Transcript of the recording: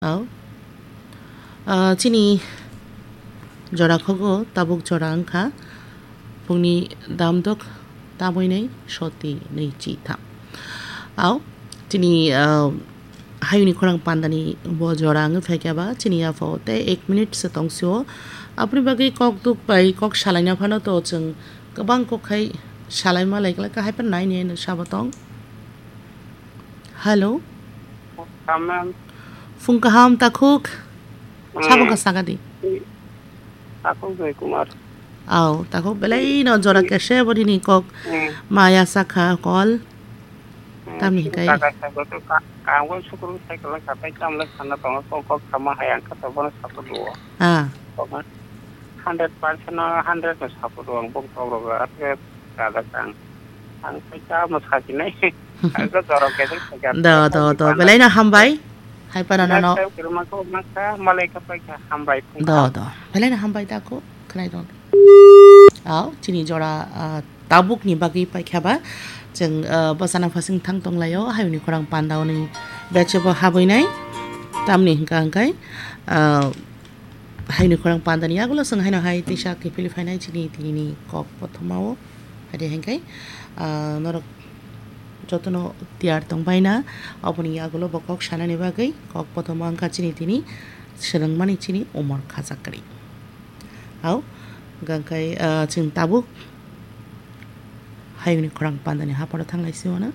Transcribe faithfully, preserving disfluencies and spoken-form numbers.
Au. Ah, chini jora khogo tabuk jora wngkha phungni damdok tamwi nai soti nui chi tham. Au, chini, ah, hayungni khorang pandani bo jora wngwi phaikha ba chini yapho tei ek minute se tongsio. Aboni bagwi kok duk bai kok salaina phano to chwng kwbang kok khai salaima lai khlai kha, hai phano nai nai no sabo tong. Hello. Tamam. Phung kaham takhuk. Hmm. Sabo ka saka di. Takhuk Joy Kumar. Au, takhuk belai no jora kese bo nini kok. Hmm. Maya sakha kol. Hmm. Tamni hikai. Saka saka to ka, ka, ang bo sukuru cycle ka tai tamle sana tongo kok kok sama hayang ka to bono saka duo. Ah. Kok hundred percent no hundred no saka duo ang bok tok rogo ate kada kang. Ang khe ta mo sakinai. Ang khe jorok khe khe khe. Do, do, do. Belai no hambai. Hai para no. Next time kirma ko makha malai ka pai kha hambai. Do, do. Belai no hambai ta ko. Khnai do. Au, chini jora, ah, tabuk ni bagwi paikha ba. Chwng, ah, bwsana phasing thang tonglaio. Hayungni khorang panda oni beche bo habwi nai. Tamni hwnkha hwnkhe, ah, Hayungni khorang pandani yagulo chwng haino hai tisa kiphilwi phainai chini tinini kok kothomao. Haide hwnkhe, ah, norok jotono tiyar tongbaina, oboni yagulo bo kok sanani bagwi kok kothoma wngkha chini tini swrwngmani chini umor khajak kwrwi. Au, hwnkhe, ah, chwng tabuk hayungni khorang pandani hapharo thanglai sio na.